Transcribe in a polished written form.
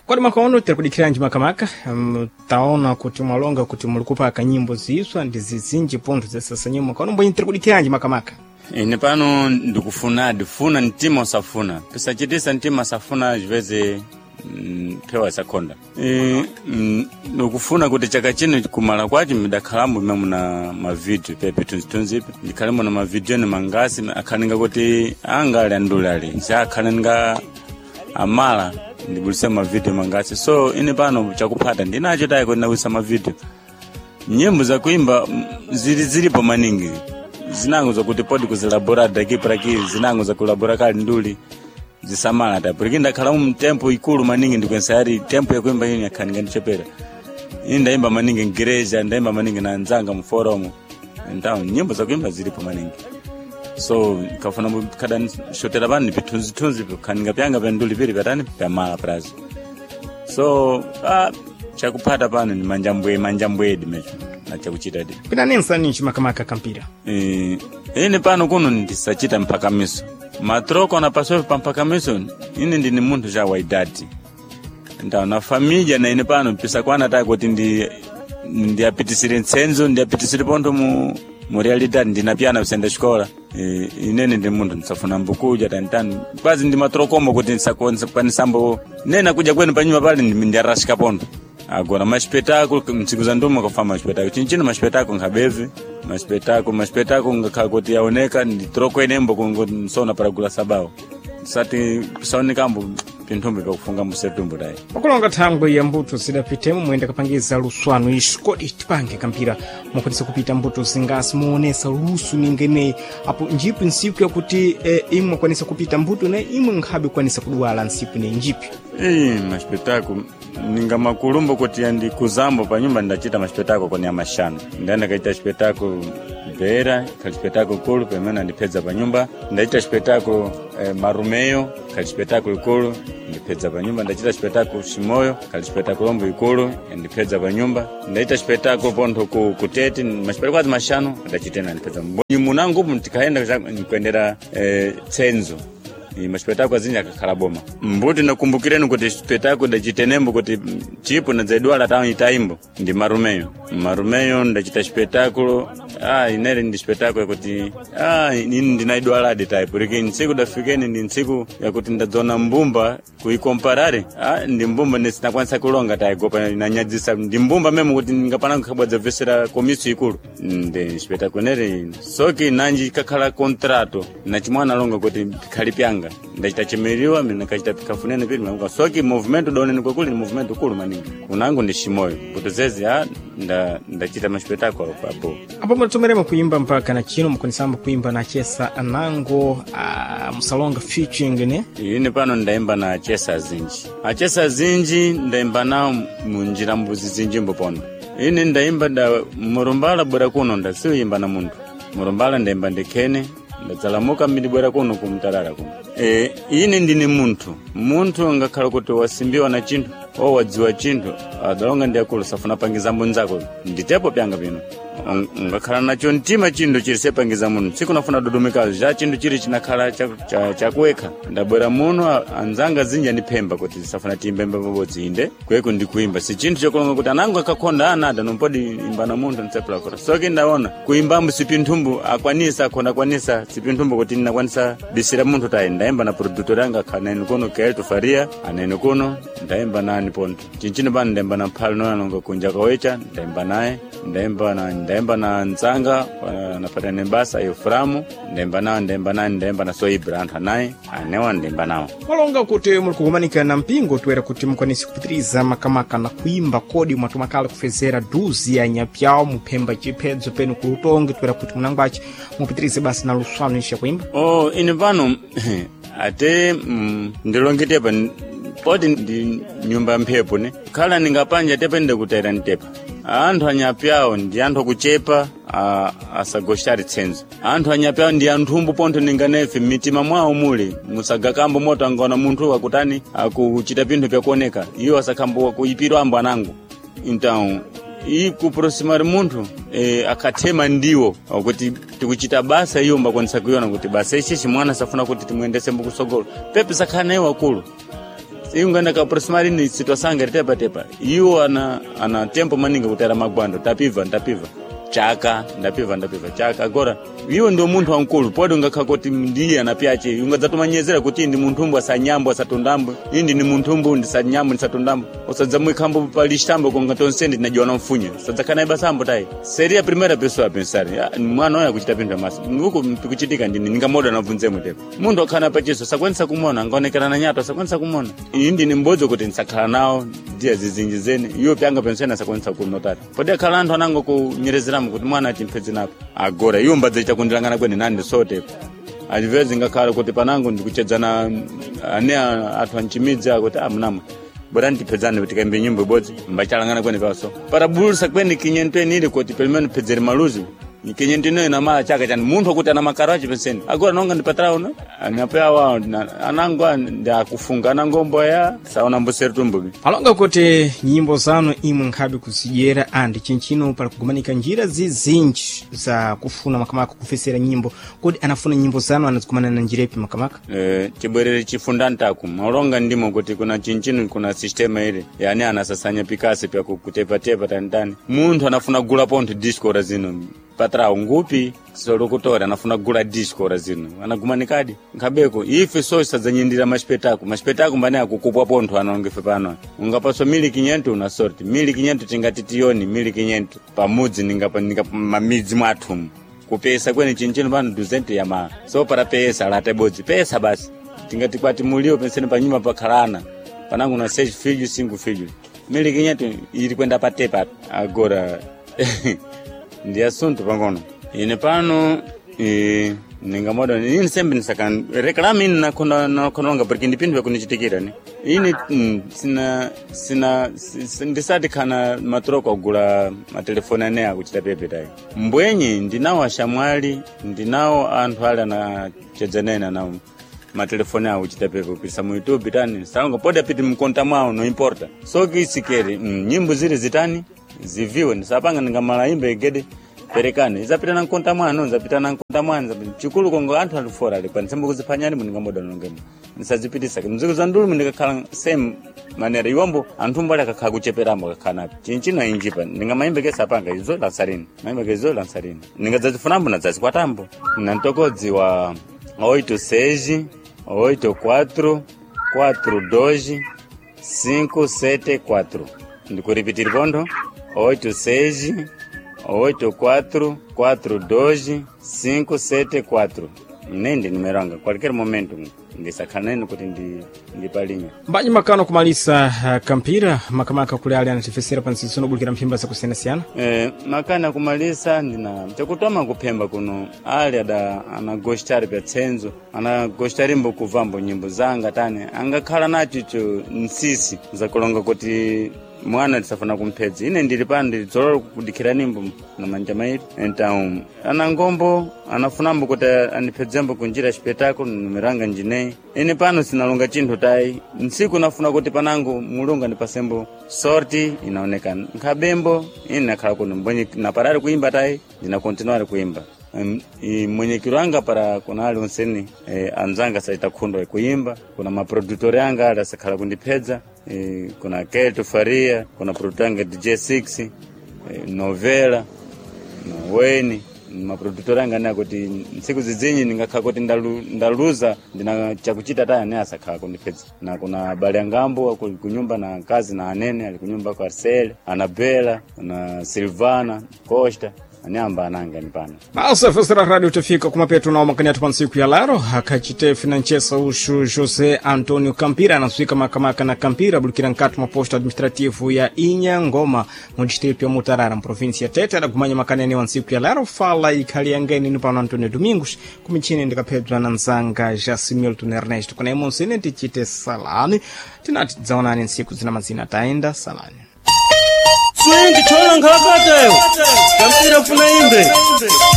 Kodi mwaka uno tiri kudikiranji makamaka? Taona kuti mwalonga kuti muli kupaka nyimbo ziswa ndi zizinji pontho zesasa mwaka uno mbwenyi tiri kudikiranji makamaka? Ine pano ndikufunadi funa mtima usafuna pisachitisa mtima asafuna chipeze phewa isakhonda. Ndikufuna kuti chaka chino kumala kwacho midakhalambo imwe muna mavidiyo pepe thunzithunzipe ndikhalemo na mavidiyo ni mangasi akhalinga kuti anga ali andule ali sakhalinga amala ndibulise mavidiyo mangasi. So ine pano chakuphata ndinacho tayi kuti ndawisa mavidiyo. Nyimbo zakuimba zili zilipo maningi zinango zakuti podi kuzilabora daki praki zinango zakulabora kali nduli zisamala ta porque ndakhala mu tempo ikulu maningi ndikwensayari tempo yakuimba ini yakhaninga ndichepera. Ini ndaimba maningi ngereja, ndaimba maningi na nzanga mu forum. Então nyimbo zakuimba zilipo maningi, so kafuna kada shotera bani pithunzithunzi khaninga pyanga pyanduli pili patani pyamala prazo. So chakuphata pano ni manjambwe manjambwedi mecho na chakuchita di. Pinanensaninji makamaka kampira? Ine pano kuno ndisachita mphakamiso matroko na pasofe pa mphakamiso. Ine ndini munthu cha waidadi ndaw na família na ine pano pisakwana tayi kuti ndi ndiyapitisire ntsenzo ndiyapitisire pontho mu realidade ndinapyana kusenda xikola. Inene ndi munthu ndisafuna mbukuja tanitani kwazi ndi matrokomo kuti ndisakwanisambo nena kuja kwenu panyuma pale ndiyarashika pontho. Agora maspetáculo mtsiku za nduma kafa maspetáculo chinchino maspetáculo nkhabeve maspetáculo maspetáculo ngakhala kuti yaoneka nditroko enembo kungoti nsona para gula sabawo sati pisaonekambo pinthumbi pakufunga musetumbo tayi. Pakulonga thangwe ya mbuto zidapitemo muyenda kapangiza luswano ixi, kodi tipange kampira mukwanisa kupita mbuto zingasi muonesa lusu ningeneyi apo njipi nsiku yakuti imwe mukwanisa kupita mbuto ne imwe nkhabe kukwanisa kuduwala nsiku ne njipi? Ii, maspetáculo ninga makulumbo kuti andikuzambo panyumba ndachita maspetáculo koni amashanu. Ndaenda kaita spetáculo Beira, khali spetáculo kulu pamene andipedza panyumba. Ndachita spetáculo Marumeyo, khali spetáculo ikulu ndipedza panyumba. Ndachita spetáculo Chimoyo, khali spetáculo ombo ikulu ndipedza panyumba. Ndachita spetáculo pontho ku Kutete, maspetáculo azi mashanu ndachitena ndipedza munangu tikaenda nikuendera tsenzo. Maspetáculo azinji akakhala boma mbuti. Nakumbukireni kuti spetáculo ndachitenembo kuti chipo nadzadwala tawo itaimbo ndi Marumeyo. Marumeyo ndachita spetáculo inere ndi spetáculo yakuti ini ndinaidwaladi tayi porque ntsiku dafikeni ndi ntsiku yakuti ndadzona mbumba kuikomparare ndi mbumba ndisinakwanisa kulonga tayi gopa inanyadzisa ndi mbumba memo kuti ndingapana kukhabwadzabvesera komiso ikulu ndi spetáculo inere. Soki nanji kakhala contrato na chimwana alonga kuti pikhali pyanga ndachita chimiriwa mina kachita pikafunene pili makuka soki movimento daonene kwakuli ni movimento ukulu maningi kunangu ndi Chimoyo mbuto zezi ndachita maspetáculo apo. Apo mutatomeremo kuimba mpaka na chino mukwanisamba kuimba na chesa anango musalonga featuring ne? Ine pano ndaimba na achesa azinji. Achesa azinji ndaimba nawo munjira mbuzi zinjimbo pono. Ine ndaimba da murumbala bwera kuno ndasiuyimba na munthu murumbala ndaimba ndikhene ndadzalamuka mbindibwera kuno kumtalala kuno. Ine ndine munthu munthu ngakhala kuti wasimbiwa na chinthu o wadziwa chinthu adalonga ndi akulu safuna pangiza mbunzako nditepo pyanga pino ngakhala nacho mtima chinthu chili sepangiza munthu tsiku nafuna dodomekazo cha chinthu chili chinakhala chakuwekha ndabwera muno anzanga zinji andiphemba kuti safuna tiyimbembe pabodzi inde kweko ndikuimba si chinthu chokulonga kuti anango akakhonda anada nompodi imba na munthu ntsepulakota soki ndaona kuimbambo sipinthumbu akwanisa akhonda akwanisa sipinthumbu kuti ndinakwanisa bisira munthu tayi. Ndaimba na produtor anga akhala kuno Kelto Faria anene kuno ndaimba nani ponto chinchino pano ndaimba na mphalo noyanonga kunja kawecha ndaimba naye ndaimba na nzanga napatane basa Euframu ndaimba nawo ndaimba naye ndaimba na Soibra anthu anayi anewa ndaimba nawo. Mwalonga kuti muli kukumanika na mpingo toera kuti mukwanise kupitiriza makamaka na kuimba, kodi mwatumakala kufezera duzi ya nyapyawo muphemba chiphedzo penu kulutongi toera kuti munangwachi mupitirize basi na luswano isha kuimba? Oh, ine pano ate ndilongitepa poti ndi nyumba ya mphepo ne khala ningapanja tepe ndikutera ntepa anthu anyapyawo ndi anthu akuchepa asagoshari tsenzo anthu anyapyawo ndi anthumbu pontho ninganefe mmitima mwawo muli musagakambo moto angaona munthu akutani akuchita pinthu pyakuoneka iwo asakhambo kuyipirwa ambo anango. Então ikuproximar munthu akathema ndiwo kuti tikuchita basa iyo mbakwanisa kuiona kuti basa ichichi mwana safuna kuti timuyendese mbukusogolo pepe sakhala naye wakulu. Iunganda ka aproximar ni situação ngari tepa tepa. Iwo ana tempo maningi kutera magwando tapiva ndapiva. Chaka ndapiva ndapiva chaka agora iwo ndio munthu wankulu pode ungakha kuti ndiye anapyache ungadzatumanyezera kuti ndi munthumbu asanyambo asatundambo indi ni munthumbu ndisanyambo ndisatundambo usadzamwikhambo palixtambo konga tonse ndinajiwana mfunya sadzakhala ibasambo tayi seria primeira pessoa a pensar "Ah, mwana oyo akuchita pinthu amasa uku pikuchitika ndini ningamoda nabvunzemwe tepo munthu akhala pachiso sakwanisa kumona angaonekera na nyato sakwanisa kumona indi ni mbodzi kuti ndisakhala nawo ndiye zizinji zene iwo pyanga penseni asakwanisa kunotata pode akhala anthu anango kunyerezeramo kuti mwana achimpfedze napo agora iwo mbadzaita kundilangana kwene nandi sotepo alivezi ngakhala kuti panango ndikuchedzana ane athu anchimidzi akuti ah mnamwe bora ndipedzane kuti kaimbe nyimbo ibodzi mbachalangana kwene paso para bulusa kwene kinyento enili kuti pelo menos phedzere maluzi kinyento ino inamala chaka chani munthu akuti ana makaro achi penseni agora nonga ndipatrao no anapewa anango ndakufunga anangomboya saona mbuseri tumbubi Alonga kuti nyimbo zanu imwe nkhabe kuzidyera andi chinchino pali kugumanika njira zizinji za kufuna makamaka kufesera nyimbo kodi anafuna nyimbo zanu anazikumana na njira ipi makamaka Chibwerere chifunda ntaku maulonga ndimo kuti kuna chinchino kuna sistema ile yani anasasanya pikasi pya kutepatepa tanitani munthu anafuna gula pontho disco ora zino patrao ngupi solokutora anafuna gula disco ora zino anagumanikadi nkhabeko ife so sadzanyindira masipetako masipetako mbane akukupwa pontho anongefe pano ungapaswa mili kinyento una sorti mili kinyento tingati tiyoni mili kinyento pamudzi ningapa ninga mamidzi mwathumu kupesa kwene chinchino pano 200 yama so para pesa late bodzi pesa basi tingati kwati mulio penseni panyumba pakhalana panango na seis filhos cinco filhos mili kinyeto ili kwenda patepa agora ndi assunto pangono ine pano ningamoda ini sembe nisaka reclame ini nakhona nakhononga porque ndipindu vakunichitikira ni ini sina sina ndisati khana matroko agula matelefoni ane akuchita pepe tayi mbwenyi ndinawo ashamwali ndinawo anthu ali anachedzanena nawo matelefoni awo uchita pepe kupisa mu youtube tani salonga pode apiti mkonta mwawo no importa so kisikeri nyimbo zili zitani ziviwe ndisapanga ningamala imbe igede perekane izapita na mkonta mwano nzapita na mkonta mwano chikulu kongo anthu alifora ali pa nsembo kuziphanyani muningamoda nongemo nisazipitisa mziku za ndulumu ndikakhala same manera iwombo anthu mbali akakhala kucheperambo akakhala napo chinchino injipa ndingamayimbe kesa apanga izo lansarini mayimbe kezo lansarini ningadzazifunambo nadzazikwatambo nantokodzi wa 86 84 42 574 ndikuripitiri pontho 86 84 42 574 nende numero anga qualquer momento ndisakhala nene kuti ndipalinya mbanyi makano kumalisa kampira makamaka kuli ali anatifesera pa nsinso nobulikira mphimba zakusiyanasiyana Makana kumalisa ndina chakutoma kuphemba kuno ali ada anagostari pya tsenzo anagostarimbo kuvambo nyimbo zanga tani angakhala nacho icho nsisi zakulonga kuti mwana tisafuna kumphedza ine ndili pano ndilidzolola kudikhira nimbo na manja mairi então anangombo anafunambo kuti andiphedzembo kunjira xipetako numero anga njineyi ine pano sinalonga chinthu tayi ntsiku nafuna kuti panango mulungu andipasembo sorti inaonekana nkhabembo ine nakhala kuno mbwenye naparari kuimba tayi ndinakontinuare kuimba mwenyekero anga para kuna ali onseni anzanga saita khundo kuimba kuna maproductor anga ali asakhala kundiphedza kuna Kelto Faria kuna produtor anga DJ6 Novela na Weni maproductor anga ane akuti ntsiku zidzinyi ndingakhala kuti ndaluza ndina chakuchita taya ane asakhala kundiphedza na kuna abale angambo aku kunyumba na kazi na anene ali kunyumba kwa Arcel Anabela na Silvana Costa ane amba ananga ni pano basa fesera radio tafika kumapeto nawo makani athu pa ntsiku ya lero akhachite financhesa uxu José Antonio Campira anaswika makamaka na Campira abulikira nkati mwa posto administrativo ya Inhangoma mu distrito ya Mutarara mu província ya Tete adagumanya makani anewa ntsiku ya lero fala ikhali yangeni ni pano Antonio Domingos kumichini ndikaphedzwa na nzanga Jasimilton Ernesto kuna imonsene tichite salani tinati tidzaonani ntsiku zina mazina tayenda salani Swingi chola nkhakatayo. Kampira funa imbe.